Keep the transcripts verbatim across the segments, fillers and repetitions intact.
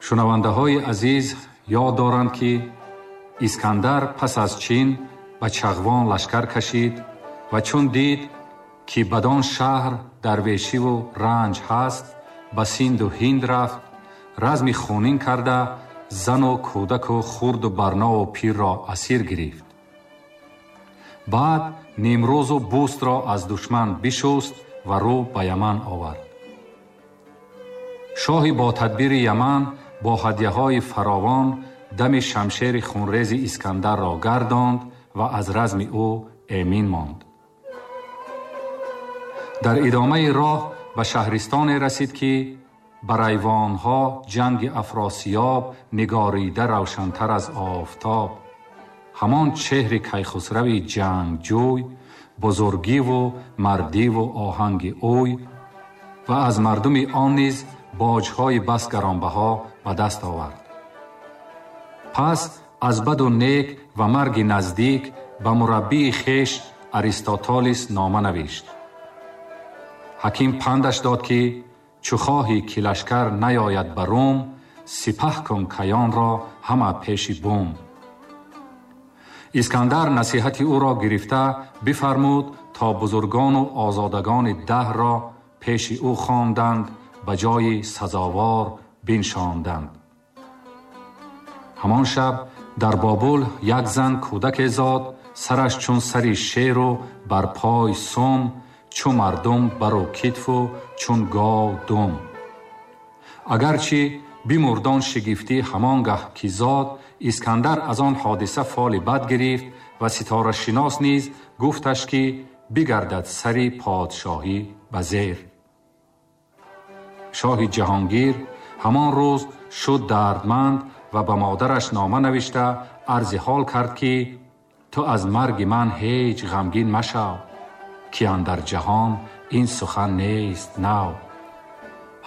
Шунавандаҳои азиз ёд доранд, ки Искандар пас аз Чин ба Чағвон лашкар кашид ва чун дид, ки бадон шаҳр дарвешиву ранҷ ҳаст, ба Синду Ҳинд рафт, разми хунин карда зану кӯдаку хурду барнову пирро асир гирифт. Баъд Нимрӯзу Бустро аз душман бишуст ва рӯ ба Яман овард. Шоҳи бо тадбири Яман бо ҳадяҳои фаровон дами шамшери хунрези Искандарро гардонд ва аз разми ӯ эмин монд. Дар идомаи роҳ ба шаҳристоне расид, ки бар айвонҳо ҷанги Афросиёб нигорида равшантар аз офтоб. Ҳамон чеҳри Кайхусрави ҷангҷӯй, бузургиву мардиву оҳанги ӯй ва аз мардуми он низ боҷҳои бас гаронбаҳо ба даст овард. Пас аз баду нек ва марги наздик ба мураббии хеш Аристотолис нома навишт. Ҳаким пандаш дод, ки чу хоҳӣ ки лашкар наёяд ба Рум, сипаҳ кун каёнро ҳама пеши бум. Искандар насиҳати ӯро гирифта бифармуд, то бузургону озодагони даҳрро пеши ӯ хонданд, ба ҷои сазовор биншонданд. Ҳамон шаб дар Бобул як зан кӯдаке зод, сараш чун сари шеру бар пой сум, чу мардум бару китфу чун гов дум. Агарчи бимурдон шигифтӣ ҳамон гаҳ ки зод, Искандар аз он ҳодиса фоли бад гирифт ва ситорашинос низ гуфташ, ки бигардад сари подшоҳӣ ба зер. Шоҳи ҷаҳонгир ҳамон рӯз шуд дардманд ва ба модараш нома навишта арзи ҳол кард, ки ту аз марги ман ҳеҷ ғамгин машав, ки андар ҷаҳон ин сухан нест нав.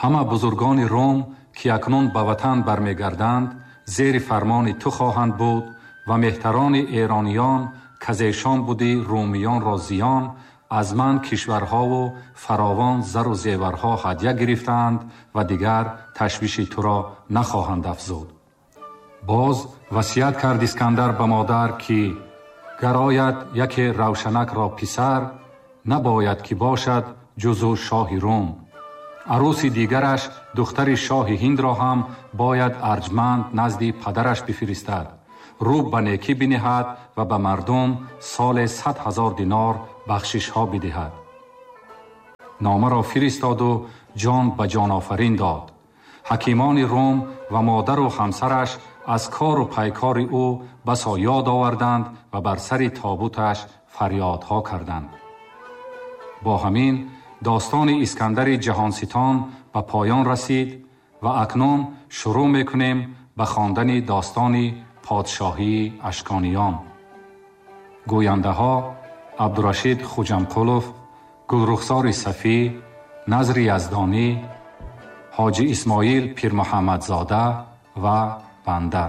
Ҳама бузургони Рум, ки акнун ба ватан бармегарданд, зери фармони ту хоҳанд буд ва меҳтарони эрониён, казешон буди румиёнро зиён, аз ман кишварҳову фаровон зару зеварҳо ҳадя гирифтаанд ва дигар ташвиши туро нахоҳанд афзуд. Боз васият кард Искандар ба модар, ки гар ояд яке Равшанакро писар, набояд ки бошад ҷузу шоҳи Рум. Арӯси дигараш духтари шоҳи Ҳиндро ҳам бояд арҷманд назди падараш бифиристад, рӯ ба некӣ биниҳад ва ба мардум соле сад ҳазор динор бахшишҳо бидиҳад. Номаро фиристоду ҷон ба ҷонофарин дод. Ҳакимони Рум ва модару ҳамсараш аз кору пайкори ӯ басо ёд оварданд ва бар сари тобуташ фарёдҳо карданд. Бо ҳамин достони Искандари ҷаҳонситон ба поён расид ва акнун шурӯъ мекунем ба хондани достони подшоҳии Ашкониён. Гӯяндаҳо Абдурашид Хуҷамқулов, Гулрухсори Сафӣ, Назри Яздонӣ, Ҳоҷи Исмоил Пирмуҳаммадзода ва банда.